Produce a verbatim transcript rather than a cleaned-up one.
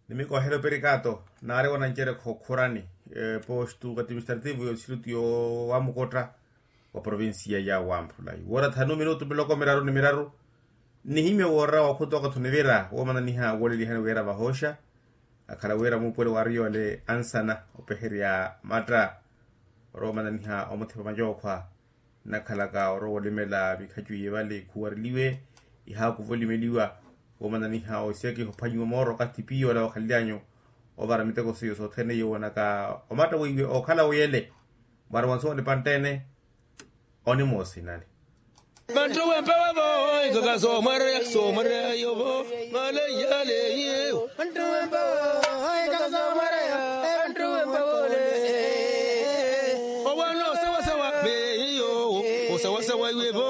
Nimikoohela operikato naari wanancerekha okhurani postu ka administrativo yo distritu yo wamukotta wa provincia ya wamphula iwoora thanu minutu miloko miraru ni miraru. Nnihimye woora wa okhuta okathi onivira woomananiha woolelihani wira vahooxa akhala wira muupuwelo wa ariyole ansana opeherya matta orowa omananiha omuthipa macookhwa nnakhalaka orowa olimela mikhacu iye vale khuwareliwe ihaakuva olimeliwa woomananiha osekiha ophwanyiwa mooro okathi piyo ola wakhalelyanyu ovara miteko seiyo sothene iyo woonaka omatta weiwe okhala wiyele mwaari wansuwa onipanttene onimoosinani. Vanttuwempa wavo ikaka soomwareya soomwareya yovo maleyale. Vanttuwempa wavo ikaka soomwareya vanttuwempa vole. Owana osawasawa veiyo osawasawa iwevo.